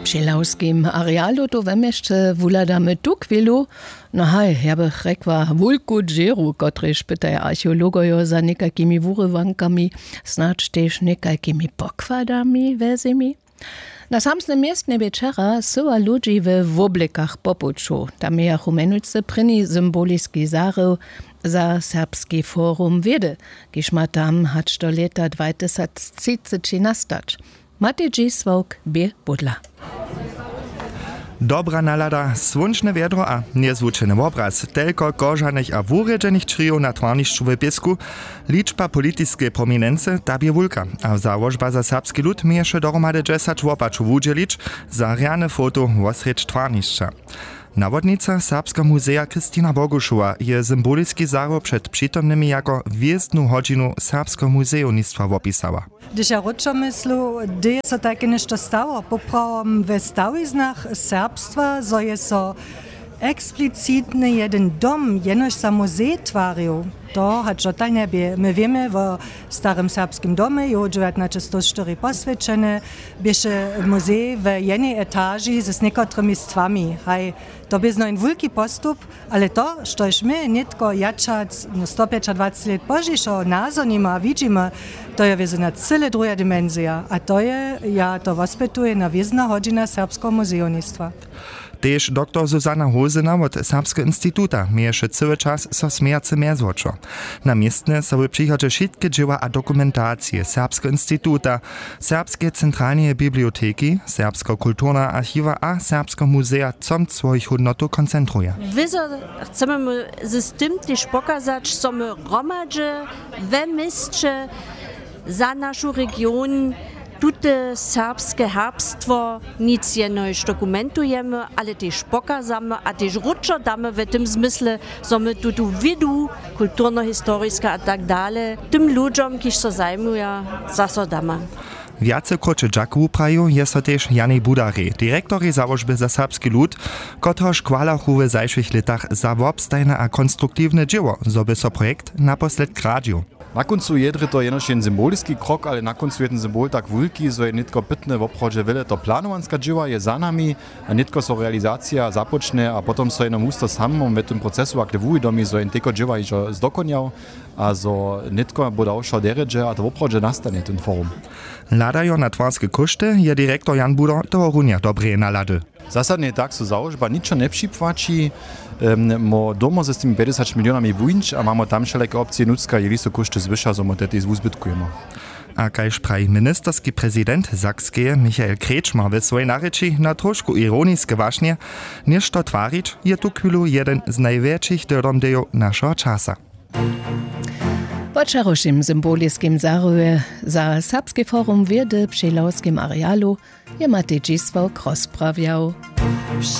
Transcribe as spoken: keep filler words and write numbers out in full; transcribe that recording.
Při lawskim arealu tu we měsće wuhladamy tuchwilu. No haj, ja bych rjekła wulku dźěru, kotrež pytaja archeologojo za někajkimi wurywankami, snadź tež někajkimi pokładami we zemi. Na samsnym městnje bě wčera syła ludźi we woblekach po puću. Tam mějachu mjenujcy prěni symboliski zarył za serbski forum wědy, kiž ma tam hač do lěta dwatysactřiceći nastać. Matej dźisławk bě budla. Dobra nalada, słónčne wjedro a njezwučeny wobraz, telko kožanych a wurjedźenych črijow na twarnišću w pěsku. Ličba politiskeje prominency, ta bě wulka, a załožba za serbski lud měješe dohromady dźesać wopačow wudźělić za rjane foto wosrjedź twarnišća. Nawodnica serbskeho muzeja Kristina Bogušowa je symboliski zarył před přitomnymi jako hwězdnu hodźinu serbskeho muzejownictwa wopisała. Hdyž ja wróćo myslu, hdy je so tajke něšto stało poprawom we stawiznach serbstwa, zo je so eksplicitny jedyn dom jenož za muzej twarił? To hač dotal njebě. My wěmy wo starym serbskim domje, jow dźewjatnaćestowštyri poswjećeny, běše muzej we jenej etaži z někotrymi stwami. Haj, to bě znojn wulki postup. Ale to štož my nětko jatšac no stopjećadwacet lět pozdźišo nazhonimy a widźimy, to je wězo na cyle druha dimensija a to je, ja to wospytujem, na wězna hodźina serbskeho muzejownictwa. Tež doktor Susanna Hosena wot Serbskeho instituta měješe cyły čas so smějace mjezwočo. Na městnje so w přichodźe wšitke dźěła a dokumentacije Serbskeho instituta, Serbskeje centralneje biblioteki, Serbskeho kulturneho archiwa a Serbskeho muzeja comc swojich hódnotow koncentruje. Wězo chcemy my z tym tež pokazać, zo my hromadźe we měsće za našu region tute serbske herbstwo nic jenož dokumentujemy, ale tež pokazamy a tež wróćo damy w tym zmysle, zo my tutu wědu, kulturnohistoriske a tak dale, tym ludźom, kiž so zajmuja, zaso damy. Wjace króće dźak wuprajił je so tež Janej Budarej, direktorej załožby za serbski lud, kotrehož chwalachu w zašłych lětach za wobstajne a konstruktiwne dźěło, zo by so projekt naposledk radźił. Na kóncu je drje to jenož jen symboliski krok, ale na kóncu je ten symbol tak wulki, zo je nětko pytne woprawdźe wjele to planowanska dźěła je za nami, a nětko so realizacija započnje a potom so jenož husto samom w tym procesu akle wuwidomi, zo jen teko dźěła hižo zdokonjał a zo nětko bo dał wšo derjedźe a to woprawdźe nastanje ten forum. Hladajo na twarske kóšty je direktor Jan Budo tohorunja dobreje nalady. Zasadnje tak so załožba ničo njepřipłaći. Mo domo z tymi pjećdźesać milionami wuńć a mamo tam wšelake opcije nutřka jeli so kóšty zwyša zo mo te tež wuzbytkujemo. A kaž praji ministerski prezident Sakskeje Michael Kretschmer w swojej narěči na trošku ironiske wašnje, něšto twarić je tuchwilu jeden z najwjetšich dyrdomdejow našeho časa. Po wčerawšim symboliskim zaryje za serbski forum wědy při lawskim arealu je Matej Dźisławk rozprawjał.